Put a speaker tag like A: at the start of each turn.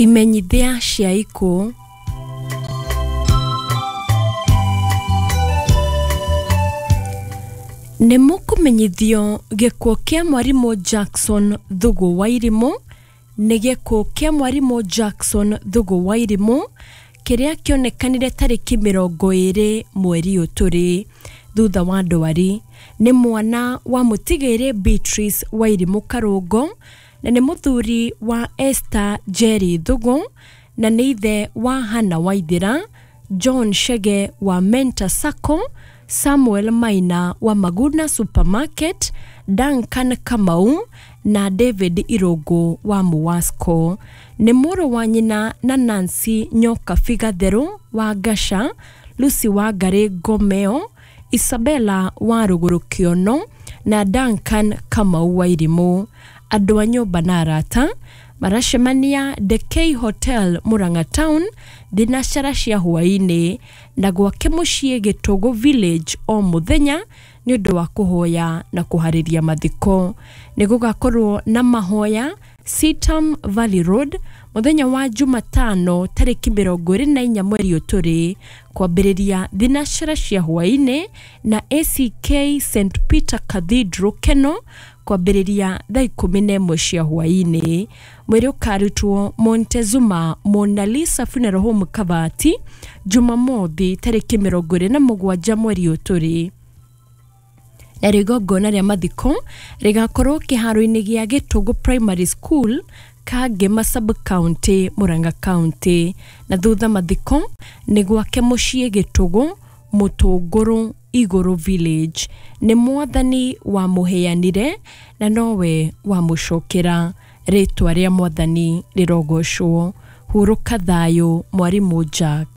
A: Imenyithia cia ikuũ. Nĩ mũkũmenyithio gĩkuũ kĩa mwarimũ Jackson Thugu Wairimũ nĩ gĩkuũ kĩa mwarimũ Jackson Thugu Wairimũ kĩrĩa kĩonekanire tarĩki 20 mweri ũyũ tũrĩ thutha wa ndwari. Nĩ mwana wa mũtigĩrĩ Beatrice Wairimũ Karũngo na nĩ mũthuri wa Esther Njeri Thugu na nĩ ithe wa Hannah Waithera, John Chege wa Mentor Sacco, Samuel Maina wa Maguna Supermarket, Duncan Kamau na David Irũngũ wa Muwasco. Nĩ mũrũ wa nyina na Nancy Nyokabi Gatheru wa Ngaca, Lucy Wangarĩ Ngomeo, Isabella wa Rũgũrũ Kĩono na Duncan Kamau Wairimũ. Andũ a nyũmba na arata maracemania The K Hotel Murang'a Town thinacara cia hwaĩ-inĩ na gwake mũciĩ Gĩtũgũ Village o mũthenya nĩ ũndũ wa kũhoya na kũharĩria mathiko. Nĩ gũgakorwo na mahoya Sitam Valley Road mũthenya wa Jumatano tarĩki 24 mweri ũyũ tũrĩ kwambĩrĩria thinacara cia hwaĩ-inĩ na ACK St Peter Cathedral Keno kwambĩrĩria thaa 11 cia hwaĩ-inĩ. Mwĩrĩ ũkarutwo Montezuma Mona Lisa Funeral Home Kabati Jumamothi tarĩki 27 mweri ũyũ tũrĩ. Narĩo igongona rĩa mathiko rĩgakorwo kĩharo-inĩ gĩa Gĩtũngũ Primary School Kangema Sub-County, Murang'a County. Na thutha mathiko nĩ gwake mũciĩ Gĩtũgũ Mũtũngũrũ Igũrũ Village. Nĩ mwathani wamũheanire na nowe wamũcokera. Rĩtwa rĩa mwathani rĩrogocwo. Hurũka thayũ mwarimũ Jack.